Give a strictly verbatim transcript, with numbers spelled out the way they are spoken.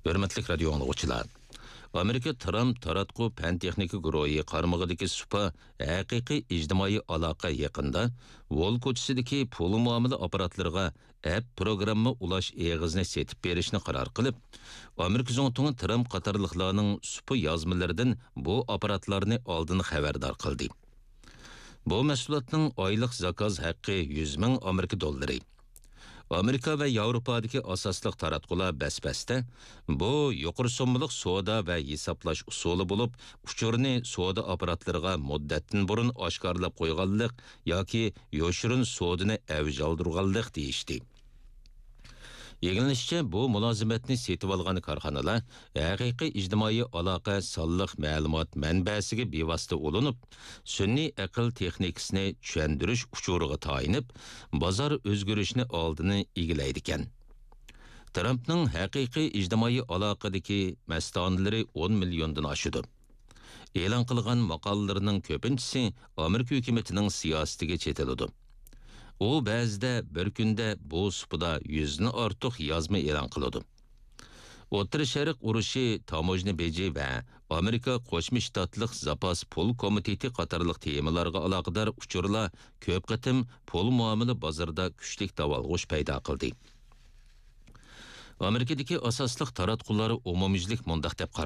ھۆرمەتلىك رادىيو ئاڭلىغۇچىلار! ئامېرىكا ترامپ تاراتقۇ پەن-تېخنىكا گۇرۇھى قارمىقىدىكى سۇپا ھەقىقىي ئىجتىمائىي ئالاقە يېقىندا ۋول كوچىسىدىكى پۇل مۇئامىلە ئاپپاراتلىرىغا ئەپ پروگرامما ئۇلاش ئېغىزىنى سېتىپ بېرىشنى قارار قىلىپ، ئامېرىكا زۇڭتۇڭى ترامپ قاتارلىقلارنىڭ سۇپا يازمىلىرىدىن بۇ ئاپپاراتلارنى ئالدىن خەۋەردار قىلدى. بۇ مەھسۇلاتنىڭ ئايلىق زاكاز ھەققى يۈز مىڭ ئامېرىكا دوللىرى. ئامېرىكا ۋە ياۋروپادىكى ئاساسلىق تاراتقۇلار بەس-بەستە بۇ يۇقىرى سوممىلىق سودا ۋە ھېسابلاش ئۇسۇلى بولۇپ، ئۇچۇرنى سودا ئاپپاراتلىرىغا مۇددەتتىن بۇرۇن ئاشكارىلاپ قويغانلىق ياكى يوشۇرۇن سودىنى ئەۋج ئالدۇرغانلىق دېيىشتى. ئىگىلىنىشىچە، بۇ مۇلازىمەتنى سېتىۋالغان كارخانىلار ھەقىقىي ئىجتىمائىي ئالاقە سانلىق مەلۇمات مەنبەسىگە بىۋاسىتە ئۇلىنىپ، سۈنئىي ئەقىل تېخنىكىسىنى چۈشەندۈرۈش ئۇچۇرىغا تايىنىپ، بازار ئۆزگىرىشىنى ئالدىنى ئىگىلەيدىكەن. ترامپنىڭ ھەقىقىي ئىجتىمائىي ئالاقىدىكى مەستانىلىرى ئون مىليوندىن ئاشىدۇ. ئېلان قىلغان ماقالىلىرىنىڭ كۆپىنچىسى ئامېرىكا ھۆكۈمىتىنىڭ سىياسىتىگە چېتىلىدۇ. ئۇ بەزىدە بىر كۈندە بۇ سۇپىدا يۈزدىن ئارتۇق يازما ئېلان قىلىدۇ. ئوتتۇرا شەرق ئۇرۇشى تاموژنا بېجى ۋە ئامېرىكا قوشما شتاتلىق زاپاس پۇل كومىتېتى قاتارلىق تېمىلارغا ئالاقىدار ئۇچۇرلار كۆپ قېتىم پۇل مۇئامىلە بازىرىدا كۈچلۈك داۋالغۇش پەيدا قىلدى. ئامېرىكىدىكى ئاساسلىق تاراتقۇلار ئومۇميۈزلۈك مۇنداق دەپ قارىدى.